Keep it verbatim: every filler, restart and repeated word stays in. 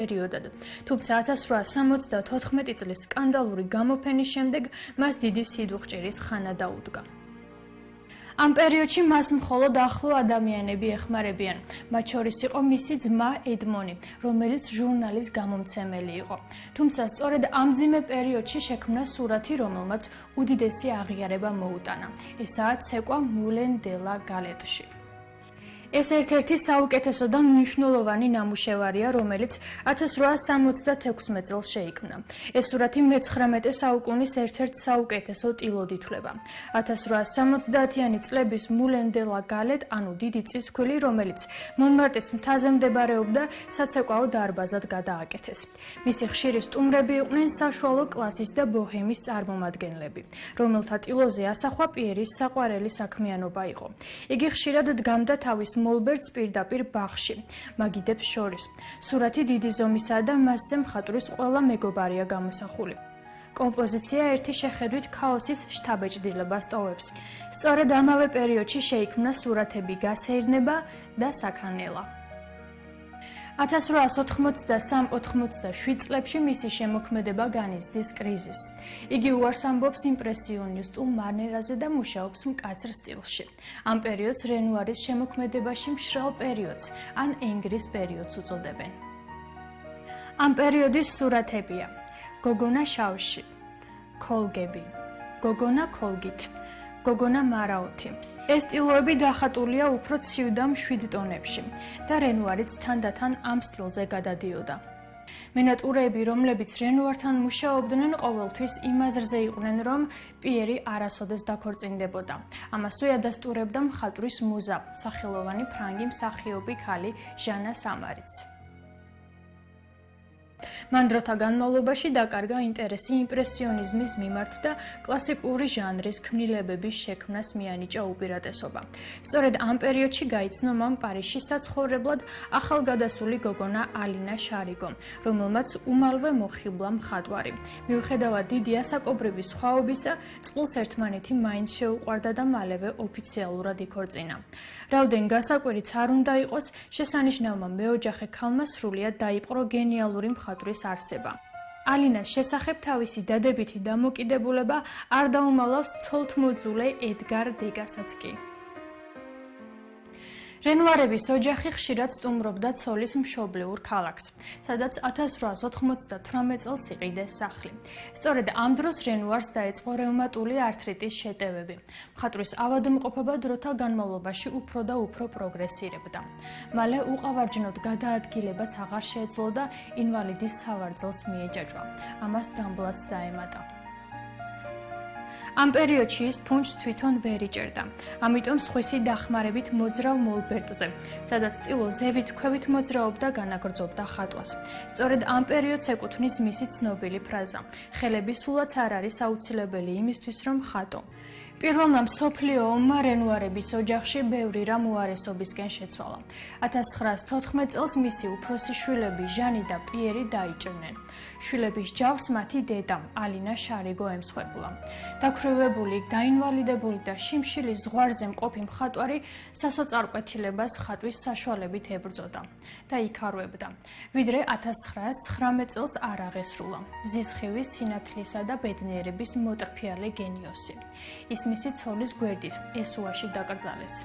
პერიოდად. თუმცა ათას რვაასი სამოცდათოთხმეტი წლის სკანდალური გამოფენის შემდეგ მას დიდი სიდუხჭირის ხანა დაუდგა. ამ პერიოდში მას მხოლოდ ახლო ადამიანები ეხმარებიან. მათ შორის იყო მისი ძმა ედმონი, რომელიც ჟურნალის გამომცემელი იყო. თუმცა სწორედ ამ მძიმე პერიოდში შექმნა სურათი, რომელმაც უდიდესი აღიარება მოუტანა. ესაა ცეკვა მულენ დე ლა გალეტში. ეს ერთ-ერთი საუკეთესო და მნიშვნელოვანი ნამუშევარია, რომელიც ათას რვაასი სამოცდათექვსმეტ წელს შეიქმნა. ეს სურათი მეცხრამეტე საუკუნის ერთ-ერთ საუკეთესო ტილოდ ითვლება. ათას რვაასი სამოცდაათიანი წლების მულენ დე ლა გალეტ, ანუ დიდი წისქვილი, რომელიც მონმარტრის მთაზე მდებარეობდა, საცეკვაო დარბაზად გადააკეთეს. მისი ხშირი სტუმრები იყვნენ საშუალო კლასის და ბოჰემის წარმომადგენლები, რომელთა ტილოზე ასახვა პიერის საყვარელი საქმიანობა იყო. იგი ხშირად დგამდა თავის მოლბერტს პირდაპირ ბაღში, მაგიდებს შორის. სურათი დიდი ზომისაა და მასზე მხატვრის ყველა მეგობარია გამოსახული. კომპოზიცია ერთი შეხედვით ქაოსის შთაბეჭდილებას ტოვებს. სწორედ ამავე პერიოდში შეიქმნა სურათები გასეირნება და საქანელა. ათას რვაასი ოთხმოცდასამ ოთხმოცდაშვიდ წლებში მისი შემოქმედება განიცდის კრიზისს. იგი უარს ამბობს იმპრესიონისტულ მანერაზე და მუშაობს მკაცრ სტილში. ამ პერიოდს რენუარის შემოქმედებაში მშრალ პერიოდს ან ენგრის პერიოდს უწოდებენ. ამ პერიოდის სურათებია: გოგონა შავში, ქოლგები, გოგონა ქოლგით, გოგონა მარაოთი. ეს ტილოები დახატულია უფრო ცივ და მშვიდ ტონებში და რენუარიც თანდათან ამ სტილზე გადადიოდა. მენატურეები, რომლებიც რენუართან მუშაობდნენ, ყოველთვის იმ აზრზე იყვნენ, რომ პიერი არასოდეს დაქორწინდებოდა. ამასვე ადასტურებდა მხატვრის მუზა, სახელოვანი ფრანგი მსახიობი ქალი ჟანა სამარიც. მან დროთა განმავლობაში დაკარგა ინტერესი იმპრესიონიზმის მიმართ და კლასიკური ჟანრის ქმნილებების შექმნას მიანიჭა უპირატესობა. სწორედ ამ პერიოდში გაიცნო მან პარიზში საცხოვრებლად ახალგადასული გოგონა ალინა შარიგო, რომელმაც უმალვე მოხიბლა მხატვარი. მიუხედავად დიდი ასაკობრივი სხვაობისა, წყვილს ერთმანეთი მაინც შეუყვარდა და მალევე ოფიციალურად იქორწინა. რაოდენ გასაკვირიც არ უნდა იყოს, შესანიშნავმა მეოჯახე ქალმა სრულიად დაიპყრო გენიალური მხატვრის არსება. ალინას შესახებ თავისი დადებითი დამოკიდებულება არ დაუმალავს ცოლთმოძულე ედგარ დეგასაც კი. რენუარების ოჯახი ხშირად სტუმრობდა ცოლის მშობლიურ ქალაქს, სადაც ათას რვაასი ოთხმოცდათვრამეტ წელს იყიდეს სახლი. სწორედ ამ დროს რენუარს დაეწყო რევმატული ართრიტის შეტევები. მხატვრის ავადმყოფობა დროთა განმავლობაში უფრო და უფრო პროგრესირებდა. მალე უყავარჯნოდ გადაადგილებაც აღარ შეეძლო და ინვალიდის სავარძელს მიეჯაჭვა. ამას დამბლაც დაემატა. ამ პერიოდში ის ფუნჩს თვითონ ვერ იჭერდა. ამიტომ სხვისი დახმარებით მოძრავ მოლბერტზე, სადაც ტილო ზევით ქვევით მოძრაობდა, განაგრძობდა ხატვას. სწორედ ამ პერიოდს ეკუთვნის მისი ცნობილი ფრაზა: ხელები სულაც არ არის აუცილებელი იმისთვის, რომ ხატო. პირველმა მსოფლიო ომმა რენუარების ოჯახში ბევრი რამ უარესობისკენ შეცვალა. ათას ცხრაასი თოთხმეტ წელს მისი უფროსი შვილები ჟანი და პიერი დაიჭრნენ. შვილების ჯავს მათი დედა ალინა შარიგო ემსხვერპლა. დაქვრივებული, დაინვალიდებული და შიმშილის ზღვარზე მყოფი მხატვარი სასოწარკვეთილებას ხატვის საშუალებით ებრძოდა და იქარვებდა, ვიდრე ათას ცხრაასი ცხრამეტ წელს არ აღესრულა. მზისხივის, სინათლისა და ბედნიერების მოტრფიალე გენიოსი. ის მისი ცოლის გვერდით ესუაში დაკრძალეს.